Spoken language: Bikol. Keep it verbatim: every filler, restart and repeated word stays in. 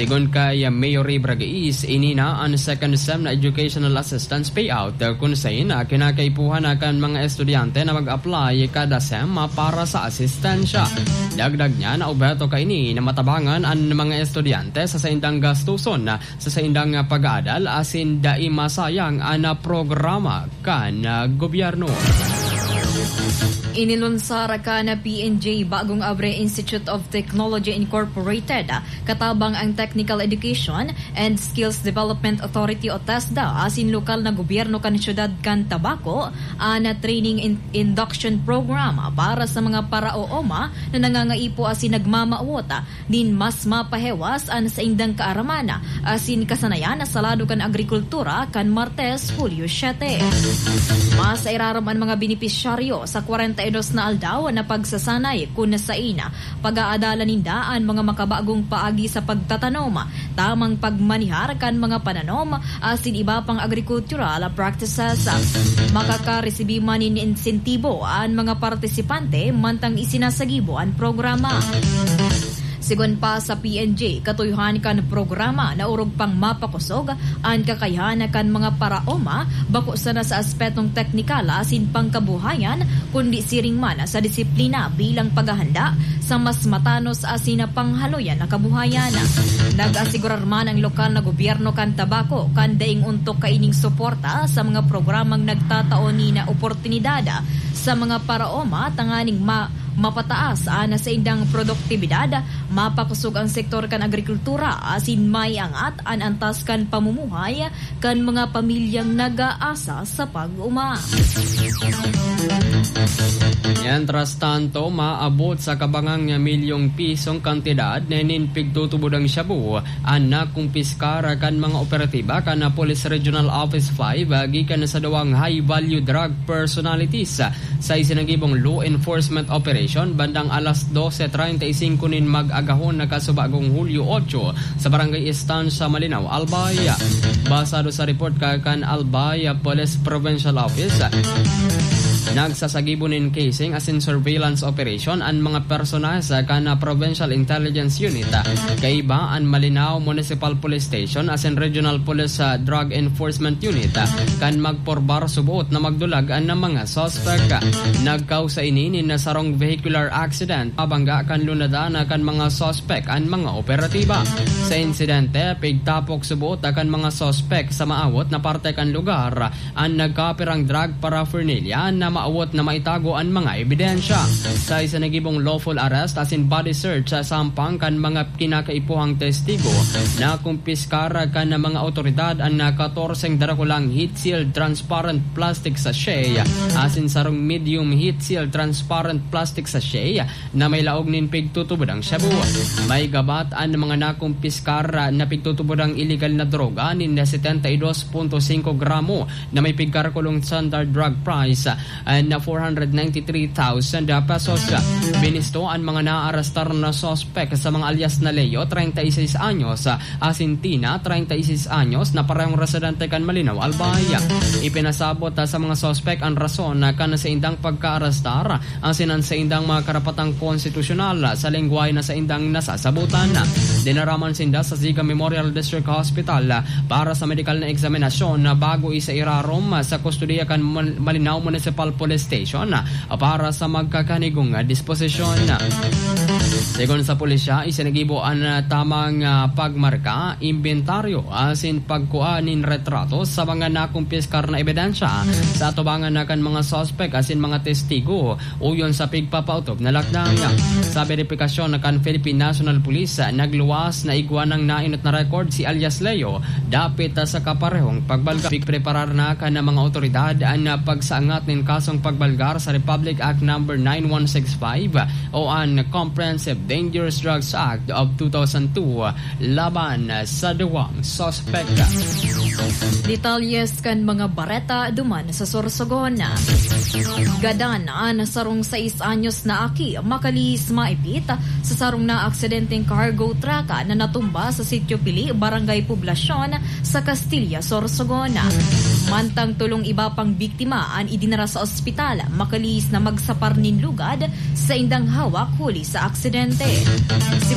Sigon kay Mayor Ray Bragais, ini na an second sem na educational assistance payout, kun sain na kinakaipuhan na kan mga estudyante na mag-apply kada sem para sa asistensya. Dagdag niya na obheto kaini na matabangan an mga estudyante sa saindang gastuson sa saindang pag-aadal asin dai masayang an programa kan gobyerno. Inilunsar kan P N J Bagong Abre Institute of Technology Incorporated katabang ang Technical Education and Skills Development Authority o TESDA asin lokal na gobyerno kan siyudad kan Tabaco an training in- induction program para sa mga paraooma na nangangaipo asin nagmamawot nin mas mapahewas an saindang kaaraman asin kasanayan sa lado kan agrikultura kan Martes, Hulyo siyete. Mas irarom an mga benepisyaryo sa kwarenta y dos na aldaw na pagsasanay kun sain pag-aadalan ninda an mga makabagong paagi sa pagtatanom, tamang pagmanihar kan mga pananom asin iba pang agrikultural practices. Makakaresibi man nin insentibo an mga partisipante mantang isinasagibo an programa. Sigon pa sa P N J, katuyuhan kan programa na orog pang mapakosog an kakayahan kan mga paraoma bako sana sa aspetong teknikal asin pangkabuhayan, kundi siring man sa disiplina bilang paghahanda sa mas matanos asin panghaloyan na kabuhayan. Nag-asigurar man ang lokal na gobyerno kan Tabaco kan daing ontok kaining suporta sa mga programang nagtatao nin oportunidad sa mga paraoma tanganing ma- mapataas an saindang produktibidad, mapakosog ang sektor kan agrikultura asin maiangat an antas kan pamumuhay kan mga pamilyang nag-aasa sa pag-oma. Mientras tanto, maabot sa kabangang milyong pisong kantidad nin pigtutubodang shabu an nakumpiskar kan mga operatiba kan Police Regional Office five gikan sa duwang high-value drug personalities sa isinagibong law enforcement operation bandang alas dose treinta y cinco nin mag-agahon na kasubagong Hulyo otso sa Barangay Estancia, Malinao, Albay. Basado sa report ka kan Albay Police Provincial Office, nagsasagibo nin casing asin surveillance operation an mga personahe kan Provincial Intelligence Unit, kaiba an Malinao Municipal Police Station asin Regional Police, ah, Drug Enforcement Unit, ah, kan magporbar suboot na magdulag an mga suspek. Nagkausa ini nin sarong vehicular accident, pabangga kan lunadan kan mga suspek an mga operatiba. Sa insidente, pigtapok suboot kan mga suspek sa maawot na parte kan lugar an nagkapirang drug paraphernalia na maawot na maitago an mga ebidensya. Sa isinagibong lawful arrest asin body search sa sampang kan mga kinakaipuhang testigo, nakumpiskar kan mga awtoridad an katorseng darakulang heat-sealed transparent plastic sachet asin sarong medium heat-sealed transparent plastic sachet na may laog nin pigtutubodang shabu. May gabat an mga nakumpiskar na pigtutubodang iligal na droga nin setenta y dos punto singko gramo na may pigkalkulong standard drug price, ah, na four hundred ninety-three thousand pesos. Binisto an mga naarestar na suspek sa mga alias na Leo, treinta y seis anyos, ah, asin Tina, treinta y seis anyos, na parehong residente kan Malinao, Albay. Ipinasabot, ah, sa mga suspek an rason, ah, kan saindang pagkaarestar, asin an saindang mga karapatang konstitusyonal sa lengwahe na saindang nasasabotan. Dinaraman sinda sa Ziga Memorial District Hospital para sa medikal na eksaminasyon bago isairarom sa kustodiya kan Mon-, Malinao Municipal Police Station para sa magkakanigong disposisyon. Segun sa pulisya, isinagibo an tamang, ah, pagmarka, imbentaryo, asin pagkua nin retrato sa mga nakumpiskar na ebidensya sa atubangan na kan mga suspek asin mga testigo, uyon sa pigpapaotob na lakdang. Sa beripikasyon na kan Philippine National Police, nagluwas na igwa nang nainot na record si alias Leo dapit sa kaparehong pagbalga. Pigpreparar na kan mga awtoridad an pagsaangat nin kasong pagbalgar sa Republic Act Number nine one six five o an Comprehensive Dangerous Drugs Act of two thousand two laban sa duwang suspek. Detalyes kan mga bareta duman sa Sorsogon. Gadan an sarong sais anyos na aki makalihis maipit sa sarong naaksidenteng cargo truck na natumba sa Sitio Pili, Barangay Poblacion, sa Castilla, Sorsogon. Mantang tolong iba pang biktima an idinara sa ospital, makalihis na magsapar nin lugad saindang hawak huli sa aksidente.